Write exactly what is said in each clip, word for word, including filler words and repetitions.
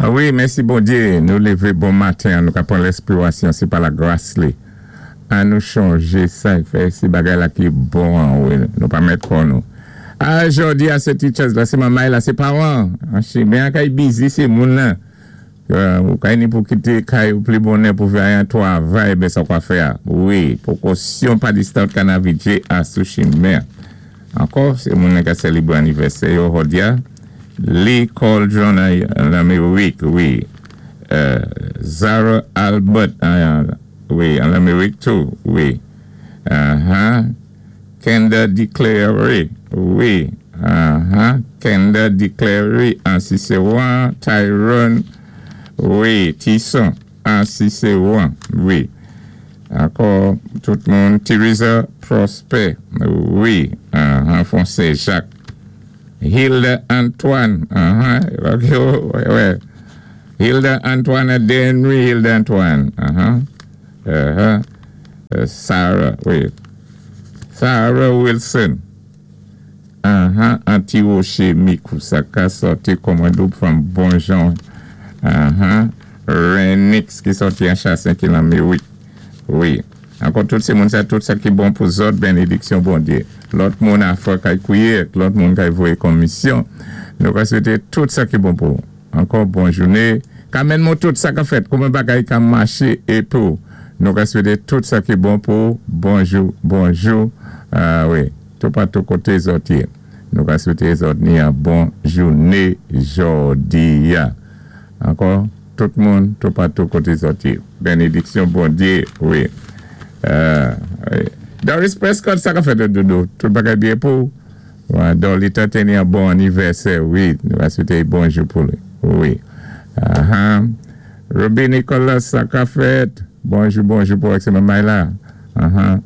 Ah wi, mèsi Bondyé, nou lévé bon maten, nou ka pwan lèspirasyon, sé pa lagras li. An nou chanjé sa, fè sé bagay-la ki bon, wi, nou pa mèt kò nou. Ah, jòdi-a, sé teachers la, sé manmay la, sé pawan. An kay busy, sé moun-nan. Ou kay ni pou kité kay ou pli bonè pou fè an twavay, ben sa kwa fè a. Wi, pwékosyon pa distant kanavidjé a sou chimen. Ankò, sé moun ka sélébwé anivèsè yo jòdi-a. Lee Cauldron an Lamérik, wi. Zara Albert, wi, an Lamérik tou, wi. Kenda Declare, wi. Kenda Declare, an Ciceron, Tyrone, wi. Tisson, an Ciceron, wi. Ankò, tout moun, Teresa Prosper, wi, an Foncé Jacques. Hilda Antoine, uh-huh, okay, Hilda Antoine, Denry Hilda Antoine, uh-huh, uh-huh, uh, Sarah, wait, Sarah Wilson, uh-huh, Anti-Rocher Mikusaka, sòti kòmandou from Bonjon, uh-huh, Renix ki sòti an Chassin ki lan wi, wi. Ankò tout sé moun sa, tout sa ki bon pou zòt, bénédiksyon Bondyé. Lòt moun a fwa kay kwiyé, lòt moun kay voyé komisyon. Nou ka swété tout sa ki bon pou. Ankò bon jouné. Kamèn mou tout sa ka fèt, kouman bagay ka maché é pou. Nou ka swété tout sa ki bon pou. Bonjou, bonjou. Ah wi, tout patou koté zòt yé. Nou ka swété zòt ni an bon jouné jòdi-a. Ankò, tout moun, tout patou koté zòt yé. Bénédiksyon Bondyé, wi. Euh, Doris Prescott, sa ka fèt doudou. Tout bagay byen pou. Dolly te ni an bon anivèsè, wi. Nou va swété bonjou pou li. Wi. Uh-huh. Ruby Nicholas, sa ka fèt. Bonjou, bonjou pou ak sé manmay la. Uh-huh.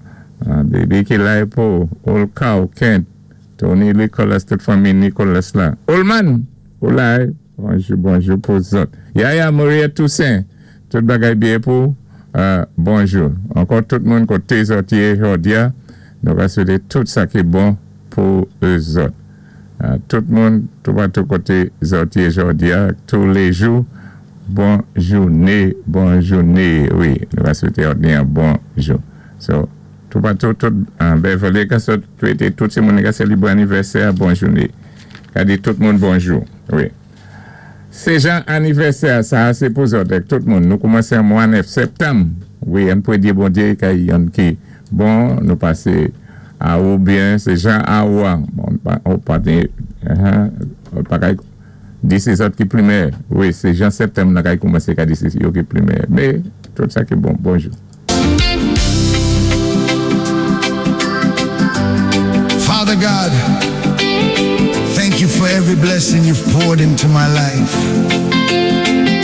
Uh, baby ki la pou. Olkaw, Kent. Tony Nicholas, tout fanmi Nicholas la. Olman, ou la. Bonjou, bonjou pou zòt. Yaya Maria Toussaint. Tout bagay byen pou. Uh, bonjou. Ankò tout moun koté zòt yé jòdi-a. Nou va swété tout sa ki bon pou zòt. Uh, tout moun, tout patou koté zòt yé jòdi-a, tou lé jou, bon jouné, bon jouné, wi. Nou va swété an bon jou. So, tout patou, tout, uh, Beverly ka swété tout sé moun ka sélébwé anivèsè, bon jouné. Ka di tout moun bonjou, wi. Sé jan anivèsè, sa sé pou zòt, tout moun. Nou koumansé an mwa nèf septanm. Wi, an pwé di Bondyé kay yon ki bon, nou pasé a ou byen, sé jan a ou an. Bon, ou pa di, ou pa kay di sé zòt ki pli mèyè. Wi, sé jan septanm nan kay koumansé ka di sé yo ki pli mèyè. Mé, tout sa ki bon, bonjou. Father God, thank you for every blessing you've poured into my life.